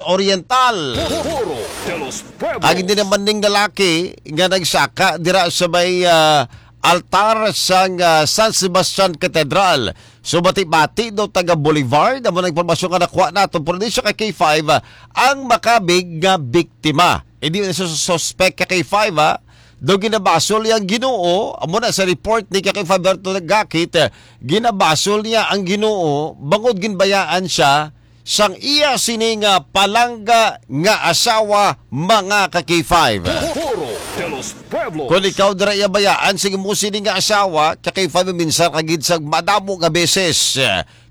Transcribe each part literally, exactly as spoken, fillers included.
Oriental. Foro de los Pueblos. Ang hindi naman ning lalaki nga nagsaka dira sa may, ah, altar sang, ah, San Sebastian Cathedral. So, bati-bati daw taga Boulevard. Amo na impormasyon nga nakuha nato. Pero di siya ka K five, ah, ang makabig nga biktima. Hindi na siya suspect ka K five, ah. Daw ginabasol niya ang Ginoo. Amo na sa report ni ka K five Berto Gakit, ah, ginabasol niya ang Ginoo. Bangod ginbayaan siya sang iya sini nga palangga nga asawa, mga ka K five. Foro de los Pueblos. Kung ikaw dira iya bayaan, sige mo sini nga asawa, ka K five, minsan ka gid sa madamo nga beses.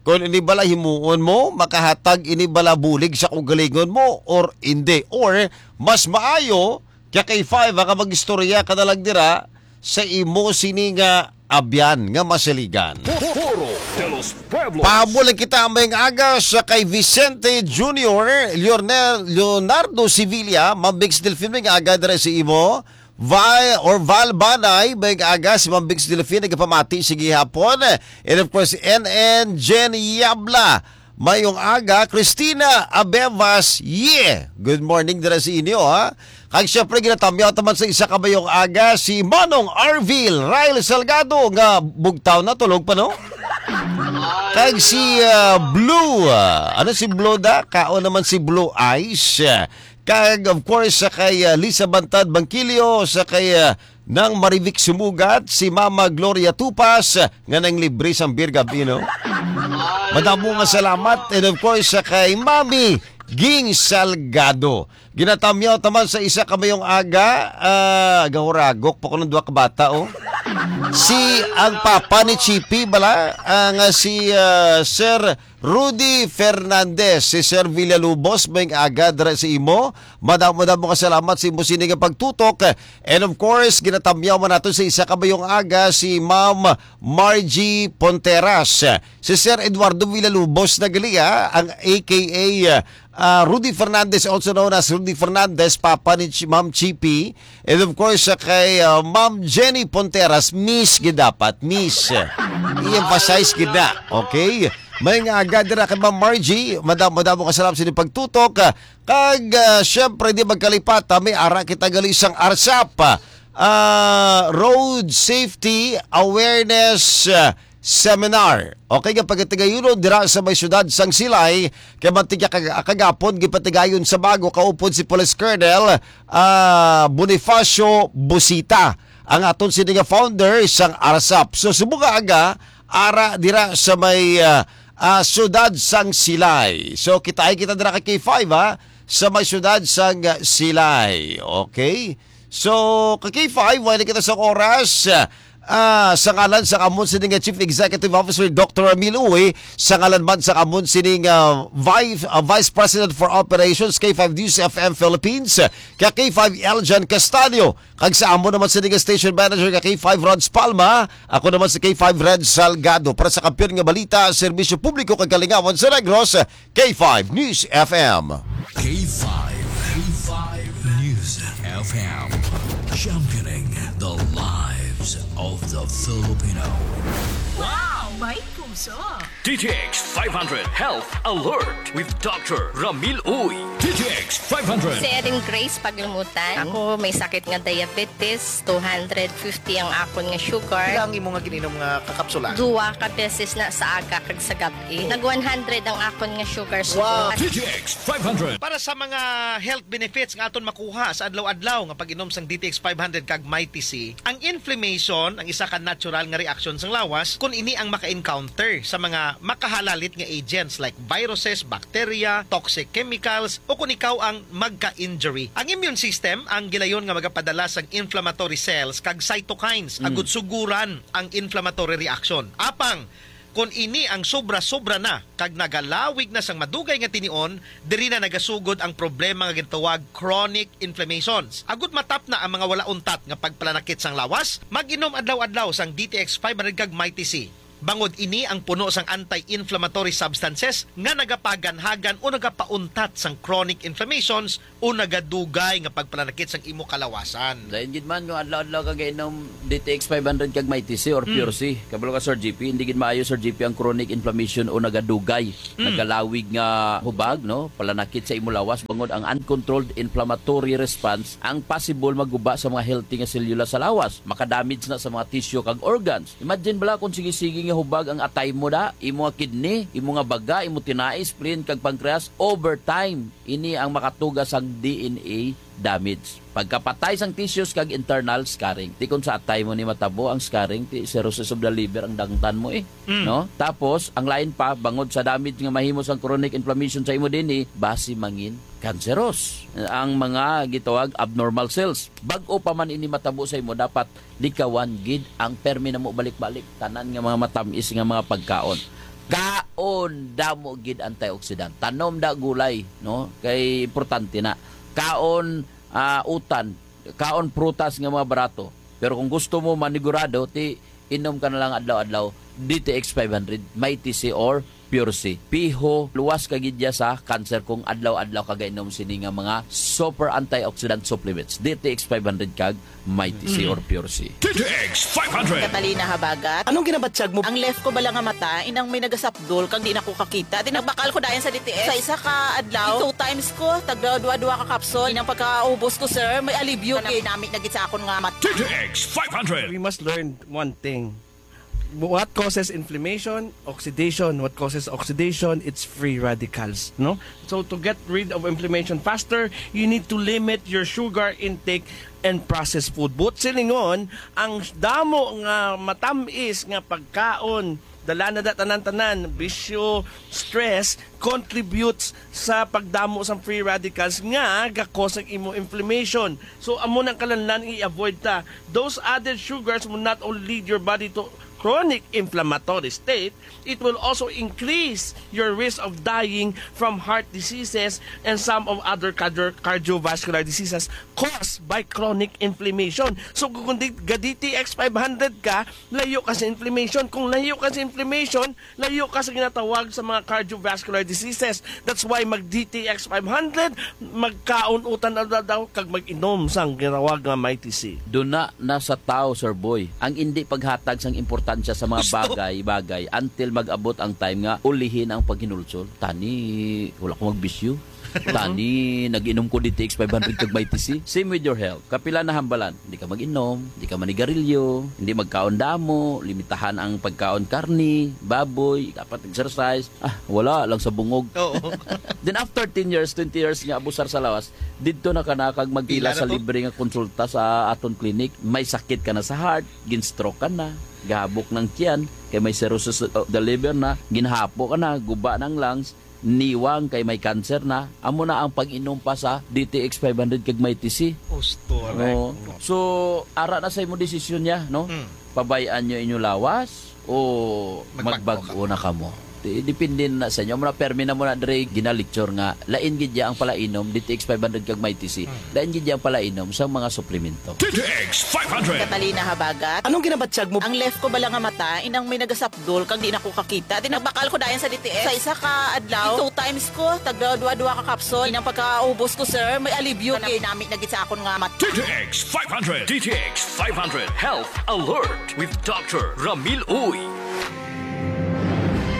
Kung ini bala himuon mo, makahatag ini bala bulig sa kaugalingon mo, or hindi. Or, mas maayo, ka K five, nga mag-istorya ka na lang dira sa imo sini nga abyan nga masaligan. Foro de los Pueblos. Pahabol lang kita mayong aga sa kay Vicente Junior, Leonel, Leonardo Sevilla, Ma'am Bix Delfin, mayong aga dira sa imo. Val or Val Banay, mayong aga si Ma'am Bix Delfin, nagapamati, sige hapon. And of course, N N Jenny Yabla, mayong aga, Christina Abevas, yeah. Good morning dira sa inyo, ha. Kag syempre, ginatamyaw taman sa isa ka mayong aga si Manong Arvil Ryle Salgado nga bugtaw na, tulog pa, no? Kag si, ah, Blue, ah, ano si Blue da? Kao naman si Blue Eyes. Kag of course sa kay, ah, Lisa Bantad Bangkilio, sa kay, ah, Nang Marivic Sumugat, si Mama Gloria Tupas, nga nang libre sang beer gab-i, no? Madamo nga salamat. And of course, sa kay Mami Ging Salgado. Ginatamyaw taman sa isa ka mayong aga, ah, gahuragok pa ko ng duha ka bata, oh. Si, ang papa ni Chippy, bala, ah, nga si, ah, Sir Rudy Fernandez, si Sir Villalubos, mayong aga dira sa imo. Madamo, madamo nga salamat sa imo sini nga pagtutok. And of course, ginatamyaw man nato sa isa ka mayong aga si Ma'am Margie Ponteras. Si Sir Eduardo Villalubos na gali, ha, ang A K A, ah, Rudy Fernandez, also known as Rudy Fernandez, papa ni Ch-, Ma'am Chippy. And of course, sa kay, ah, Ma'am Jenny Ponteras, Miss gid dapat, Miss. I-emphasize gid na, okay? Mayong aga dira kay Ma'am Margie, madamo, madamo nga salamat sa inyong pagtutok. Kag, ah, syempre, di magkalipata, may ara kita gali sang ARSAP, ah, Road Safety Awareness, ah, Seminar. Okay, nga pagatigayonon dira sa may siyudad sang Silay, kay mantigya kag-, kagapon gipatigayon sa bago kaupod si Police Colonel, ah, Bonifacio Busita, ang aton sini nga founder sang ARSAP. So, subong nga aga, ara dira sa may, ah, ah, siyudad sang Silay. So, kitaay kita dira kay K five, ha, sa may siyudad sang Silay. Okay? So, ka K five, wala kita sa oras. Ah, sa ngalan sa amon sini nga Chief Executive Officer, Doctor Ramil Uy, sa ngalan man sa amon sini nga Vice, ah, Vice President for Operations, K five News F M Philippines, ka K five Eljan Castaño, kag sa amon naman sini nga Station Manager, ka K five Rods Palma, ako naman si K five Red Salgado. Para sa Kampiyon nga Balita, Serbisyo Publiko kag Kalingawan sa Negros, K five News F M. K five, K five News F M, championing the lives of the Filipino. Wow! May puso! D T X five hundred Health Alert with Doctor Ramil Uy. D T X five hundred. Si Erin Grace Paglumutan. Ako may sakit nga diabetes, two hundred fifty ang akon nga sugar. Pila ang imo nga gininom nga kakapsula? Duwa ka beses na sa aga kag sa gab-i. Nag one hundred ang akon nga sugar. Wow. D T X five hundred. Para sa mga health benefits nga aton makuha sa adlaw-adlaw nga pag-inom sang D T X five hundred kag Mighty C, ang inflammation ang isa ka natural nga reaksyon sang lawas kon ini ang maka-encounter sa mga makahalalit nga agents like viruses, bacteria, toxic chemicals, o kon ikaw ang magka-injury. Ang immune system ang gilayon nga magapadala sang inflammatory cells kag cytokines agud suguran ang inflammatory reaction. Apang kon ini ang sobra-sobra na kag nagalawig na sang madugay nga tinion, diri na nagasugod ang problema nga ginatawag chronic inflammations. Agud matapna ang mga wala untat nga pagpalanakit sang lawas, mag-inom adlaw-adlaw sang D T X five hundred kag Mighty C. Bangod ini ang puno sang anti-inflammatory substances nga nagapaganhagan o nagapauntat sang chronic inflammations o nagadugay nga pagpalanakit sang imo kalawasan. Dayon gid man nga adlaw-adlaw ka gainom D T X five hundred kag Mighty C or Hmm. Pure C. Kabalo ka, Sir G P, hindi gid maayo, Sir G P, ang chronic inflammation o nagadugay, Hmm. nagalawig nga hubag, no? Palanakit sa imo lawas, bangod ang uncontrolled inflammatory response ang possible maguba sa mga healthy nga selula sa lawas. Makadamage na sa mga tissue kag organs. Imagine bala kung sige-sige nga hubag ang atay mo da, imo nga kidney, imo nga baga, imo tinai, spleen, kag pancreas, over time, ini ang makatuga sang D N A damage. Pagkapatay sang tissues kag internal scarring. Ti kung sa atay mo ni matabo ang scarring, ti cirrhosis of the liver ang dangtan mo eh. Mm. No? Tapos, ang lain pa, bangod sa damage nga mahimo sang chronic inflammation sa imo D N A, basi mangin cancerous ang mga gitawag abnormal cells. Bag-o pa man ini matabo sa imo, dapat likawan gid ang permi namo balik-balik, tanan nga mga matamis nga mga pagkaon. Kaon damo gid antioxidant. Tanom da gulay, no? Kay importante na. Kaon, ah, utan, kaon prutas nga mga barato. Pero kung gusto mo manigurado, ti inom ka na lang adlaw-adlaw D T X five hundred, Mighty C or Pure C. Piho, luwas ka gid ya sa cancer kung adlaw-adlaw ka gainom sini nga mga super antioxidant supplements, D T X five hundred kag Mighty C Mm. or Pure C. D T X five hundred. Catalina Habagat. Anong ginabatyag mo? Ang left ko bala nga mata, inang may nagasapdol, kag di na ko kakita. Di nagbakal ko dayon sa D T X. Sa isa ka adlaw, two times ko, tagda dua-dua ka kapsul. Inang pagkaubos ko, sir, may alibyo. Nami-nami na gid sa akon nga mata. D T X five hundred. We must learn one thing. What causes inflammation? Oxidation. What causes oxidation? It's free radicals, no? So to get rid of inflammation faster, you need to limit your sugar intake and processed food. But silingon, ang damo nga matamis nga pagkaon, dala na da tanan-tanan, bisyo, stress, contributes sa pagdamo sang free radicals nga gakos ang imo inflammation. So, amo nang kalanlan i-avoid ta. Those added sugars will not only lead your body to chronic inflammatory state, it will also increase your risk of dying from heart diseases and some of other cardio-, cardiovascular diseases caused by chronic inflammation. So, kung di-, ga D T X five hundred ka, layo ka sa inflammation. Kung layo ka sa inflammation, layo ka sa ginatawag sa mga cardiovascular diseases. That's why mag D T X five hundred, magkaon utan adlaw-adlaw, kag mag-inom sang ginatawag nga Mighty C. Duna na sa tao, Sir Boy, ang indi paghatag sang importansya sa mga Gusto. bagay-bagay until mag-abot ang time nga ulihin ang paghinulsol. Tani, wala ko magbisyo. Tani, nag-inom ko D T X five hundred kag Mighty C. Same with your health. Kapila na hambalan? Hindi ka mag-inom, hindi ka manigarilyo, hindi magkaon damo, limitahan ang pagkaon karni, baboy, dapat exercise. Ah, wala lang sa bungog. Oo. Then after ten years, twenty years nga abusar sa lawas, didto na ka na kag magpila Pila na sa to? libre nga konsulta sa aton clinic. May sakit ka na sa heart, gin-stroke ka na, gahabok ng tiyan, kay may cirrhosis of the liver na, ginhapo ka na, guba ng lungs, niwang kay may cancer na, amo na ang pag-inom pa sa D T X five hundred kag Mighty C. Ustura. Oo. So, ara na sa imo desisyon niya, no? Mm. Pabayaan niyo inyo lawas o Magbag-o magbag-o na kamo? Di-, depende na sa inyo. Amo na, permi na mo na, Dre, ginalecture nga lain gid ya ang palainom, D T X five hundred kag Mighty C. Mm. Lain gid ya ang palainom sa mga suplemento. D T X five hundred. Catalina Habagat. Anong ginabatyag mo? Ang left ko bala nga mata, inang may nagasap Dol, kag di na ko kakita. Di nagbakal ko dayon sa D T X. Sa isa ka adlaw, two times ko, tagda dua-dua ka kapsul. Inang pagkaubos ko, sir, may alibyo gid. Nami-nami na gid sa akon nga mat- D T X five hundred. D T X five hundred Health Alert with Doctor Ramil Uy.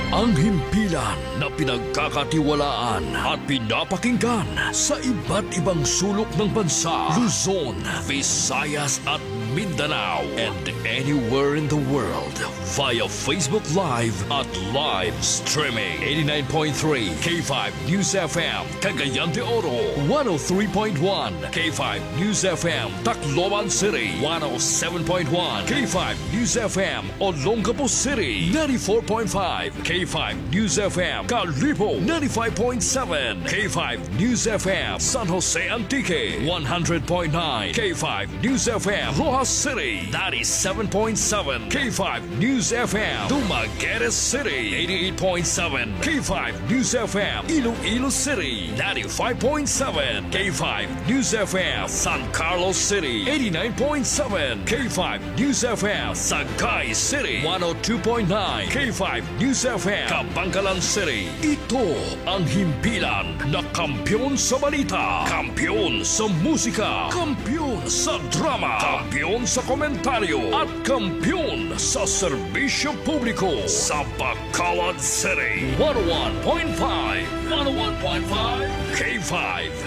Ang himpilan na pinagkakatiwalaan at pinapakinggan sa iba't ibang sulok ng bansa, Luzon, Visayas at Mindanao, and anywhere in the world via Facebook Live at live streaming. Eighty-nine point three K five News F M, Cagayan de Oro, one oh three point one K five News F M, Tacloban City, one oh seven point one K five News F M, Olongapo City, ninety-four point five K five News F M, Kalibo, ninety-five point seven K five News F M, San Jose Antique, one hundred point nine K five News F M, Roxas City, ninety-seven point seven K five News F M, Dumaguete City, eighty-eight point seven K five News F M, Iloilo City, ninety-five point seven K five News F M, San Carlos City, eighty-nine point seven K five News F M, Sagay City, one oh two point nine K five News F M, Kabankalan City. Ito ang himpilan na kampiyon sa balita, kampiyon sa musika, kampiyon sa drama, kampiyon sa komentaryo, at kampiyon sa serbisyo publiko sa Bacolod City. One oh one point five, one oh one point five K five